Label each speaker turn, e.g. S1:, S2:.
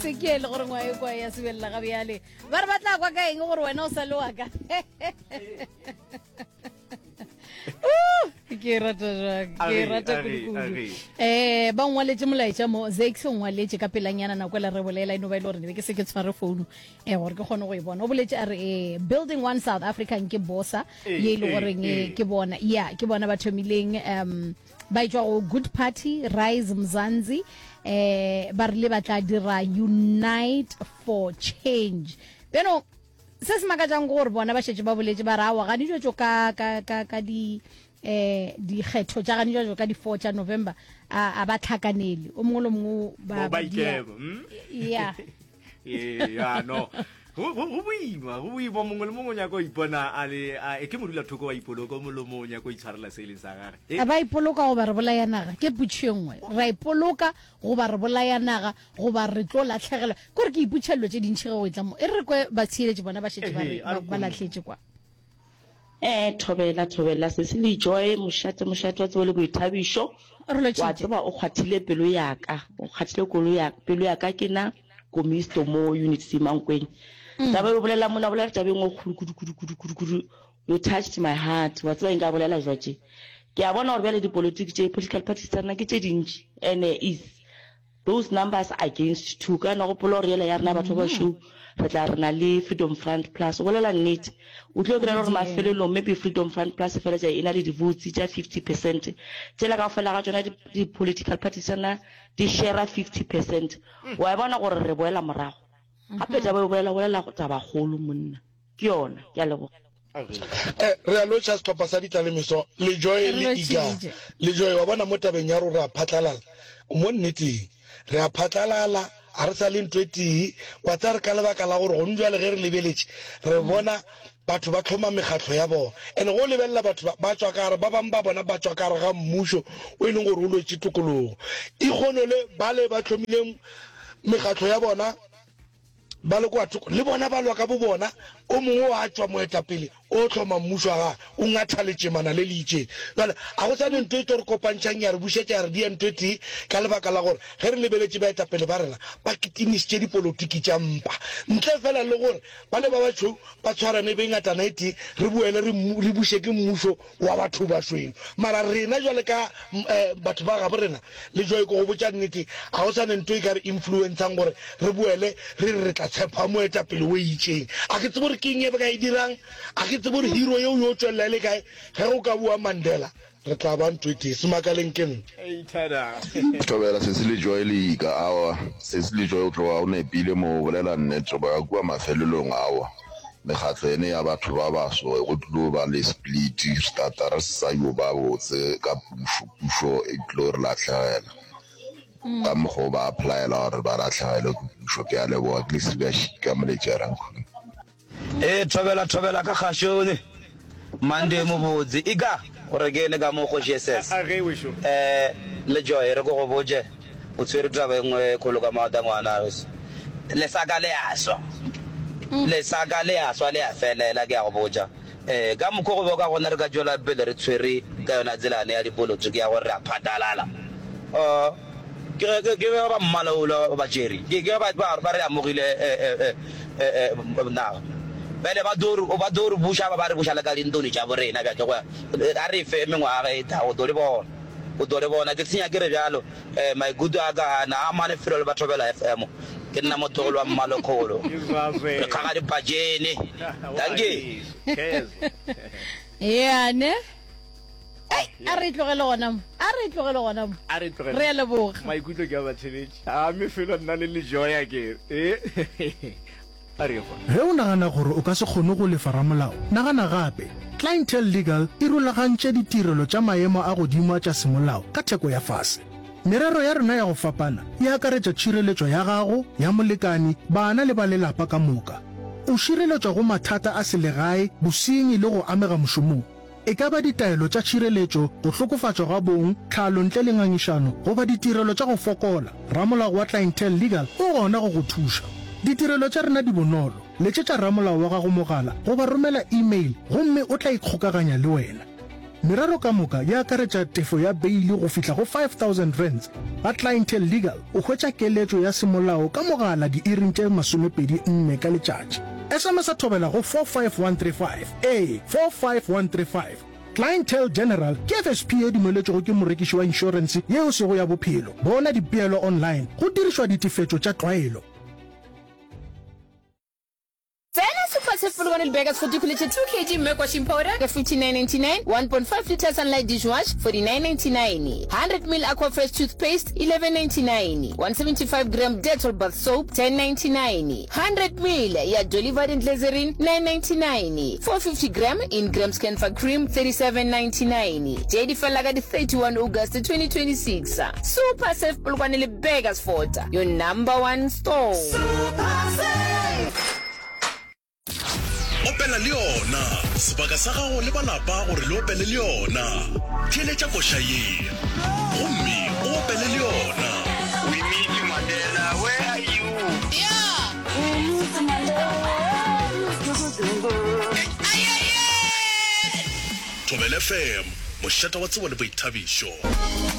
S1: Se ke le gore ngwa e kwa ya sebelela ga bjale. Ba re ba tla kwa ka eng gore wena o sa le wa ka. Uh, ke e rata jwang, ke e
S2: Age,
S1: rata
S2: age,
S1: kudu-kudu.
S2: age.
S1: Eh, ba ngwaletše molaetša mo, Zakes o ngwaletše ka pelanyana nako e le re bolela e no ba e le gore ne be ke se ke tshware founu eh gore ke kgone go e bona. O boletše a re eh Building One South African ke bosa
S2: Eh,
S1: ye e le
S2: eh,
S1: goreng eh,
S2: eh.
S1: ke bona ya ke bona ba thomileng um ba etšwa go Good Party Rise Mzansi eh ba rile ba tla dira Unite for Change. Beno se se makatšang ke gore bona ba šetše ba boletše ba re aowa gane jwetšo ka ka ka ka di eh dikgetho tša gane jwetšo ka di 4 tša November a a ba tlhakanele o mongwe le mongwe ba
S2: Bo ba
S1: ba dia
S2: ikema, mm?
S1: ya
S2: Ee, ya no go go- go boima go boima mongwe le mongwe o nyaka go ipona a le a- e ke modulathoko wa ipoloka o mongwe le mongwe o nyaka go itshwarela se e leng sa gage E,
S1: a ba ipoloka goba re bolaya naga ke potšo e nngwe ra ipoloka goba re bolaya naga goba re tlo latlhegelwa kore ke ipotšha dilo tše dintšhi ge go etla mo e re kwe batshireletši bona ba šetše ba re
S2: Ehe, a re
S1: ba
S2: kong.
S1: lahletše kwa
S3: Ee, thobela, thobela, sesi le Joy, mošate, mošate wa tsebo le boithabišo.
S1: Re
S3: Wa
S1: lotšhitše.
S3: tseba o kgwathile pelo ya ka, o kgwathile kolo ya, pelo ya ka. Ke na Komisto mo Unit C Mankweng. Taba e o bolelang mona, o bolela taba e nngwe e kgolo kudu, kudu, kudu, kudu, kudu. You touched my heart. Wa tseba eng ka bolela jwa tše? Ke a bona gore bjale dipolotiki tše, political parties tsa rena ke tše dintši and-e is Those numbers against two. Ka no gopola gore yela ya rena batho ba bašweu re tla re na le Freedom Front Plus. O bolela nnete. O tlo kry-a gore mafelelong maybe Freedom Front Plus e feletša e na le di-votes tša 50 percent. Tšela kaofela ga tšona di-political parties tša rena di share-a 50 percent. Wa e bona gore re boela morago. Gape taba e o bolela, o bolela tabakgolo monna. Ke yona. Ke a leboga.
S4: Eh, re a lotšha sehlopha sa ditlalemeso, Lejoe
S1: Re
S4: le Iga.
S1: lotšhitše.
S4: Lejoe, wa bona mo tabeng ya rore re a phatlalala, mo nneteng, re a phatlalala, ga re sa le ntho e tee. Wa tseba re ka lebaka la gore gone bjale ge re lebeletše, re bona batho ba hloma mekgatlo ya bona. And-e ge o lebelela batho ba, ba tšwa ka gare, ba bangwe ba bona ba tšwa ka gare ga mmušo o e leng gore o lwetše tokologo. Ikgono le bale ba hlomileng mekgatlo ya bona, Ba le kwa thoko, le bona ba lwa ka bobona, o mongwe wa tšwa moetapele o hloma mmušo wa gagwe, o ngatha letšemana le le itšeng. Bjale, ga go sa ne ntho e tlo re kopantšhang ya re bušetša ya re dia ntho e tee, ka lebaka la gore ge re lebeletše baetapele ba rena ba kitimišitše dipolotiki tša mpa. Ntle feela le gore bale ba batšhweu ba tshwarane e be ngatana e tee, re boele re, re buše ke mmušo wa batho bašweu. Mara rena jwale ka batho ba gabo rena, le Joy ke go botša nnete, ga go sa ne ntho e ka re influencang gore re boele re re re tla tshepa moetapele o itšeng. A ke tsebe gore ke eng e ba ka e dirang, a ke tsebe gore hero yeo yo tšwelela e le kae. Ge go ka boa Mandela, re tla ba ntho e tee. Semakaleng ke nna.
S5: Thobela sesi le Joy le ika aowa sesi le Joy o tloga o nepile mo o bolela nnete go ya kua mafelelong aowa mekgatlo ene ya batho ba baso go tlilo ba le split re tla tla re sa yo ba botse ka pušo pušo e tlo re lahlegela ka mokgwa o ba applyela gore ba lahlegelwe ke pušo ke a leboga ke le Sibia Shika Moletši Rankhuni.
S6: Ee, thobela, thobela ka kgašone. Monday mobotse. Ika, gore ke ene ka mo Kgoši SS.
S2: A ge wešo.
S6: Eh, le Joy, re ko go botše, o tshwere taba e nngwe e kgolo ka maota ngwana weso. Lesaka le a swa. Lesaka le a swa le a felela, ke a go botša. Eh, ka mokgo go be ka gona re ka tšwela pele re tshwere ka yona tselane ya dipolotiki ya gore re a phatalala. Oh. Ke ge, ke, ke ge ba mmala wola ba tšere. Ke, ke ge ba, ba, ba re amogile eh, eh, eh, eh, eh, naga. Bjale ba tlo re, ba tlo re buša, ba re buša le ka dintoni tša borena bjale go ya. A re fe mengwaga e tlago, o tlo le bona. O tlo le bona. Ke senya ke re bjalo, eh, maikutlo a ka a na a amane felo le ba Thobela FM. Ke nna motlogolo wa Mmalekgolo. Re kgaga dipatšene. Dankie.
S1: Yeah, ne? Ei, a re e tlogele gona mo. A re e tlogele gona mo.
S2: A re e tlogele.
S1: Re a leboga.
S2: Maikutlo ke a batheletši. A mme felo nna le lejoya ke e. A re ye gona.
S7: Ge o nagana gore o ka se kgone go lefa ramolao, nagana gape. Clientele Legal e rulagantše ditirelo tša maemo a godimo a tša semolao ka theko ya fase. Merero ya rena ya go fapana e akaretša tšhireletšo ya gago, ya molekane, bana le ba lelapa ka moka. O šireletšwa go mathata a selegae, bosenyi le go amega mošomong. E ka ba ditaelo tša tšhireletšo, go hlokofatšwa ga bong, tlhalo ntle le ngangišano, goba ditirelo tša go fokola, ramolao wa Clientele Legal o gona go go thuša. Ditirelo tša rena di bonolo, letšetša ramolao wa gago mogala goba romela email gomme o tla ikgokaganya le wena. Merero ka moka e akaretša tefo ya beili go fihla go R5000. Ga Clientele Legal o hwetša keletšo ya semolao ka mogala diiring tše 24 ka letšatši. SMS-a thobela go 45135, ee, 45135. Clientele General ke FSP ye dumeletšwego ke morekiši wa inšorense ye e sego ya bophelo. Bona dipeelo online go dirišwa ditefetšo tša tlwaelo.
S8: Tsena Super Save Polokwane le Burgers for dikgole tše 2 kg Merk washing powder ka 59.99, 1.5 litre Sunlight dishwash 49.99, 100 ml Aquafresh toothpaste 11.99, 175 gram Dettol bath soap 10.99, 100 ml ya Dolly Varden glycerin 9.99, 450 gram Ingram's Camphor cream 37.99. Tše di felela ka di 31 August 2026. Super Save Polokwane le Burgersfort, your number one store.
S9: Opela le yona. Sebaka sa gago le ba lapa gore le opele le yona. Theeletša koša ye gomme o opele le yona.
S10: We miss you Mandela, where are you?
S11: We miss you Mandela.
S9: Thobela FM, mošate wa tsebo le boithabišo.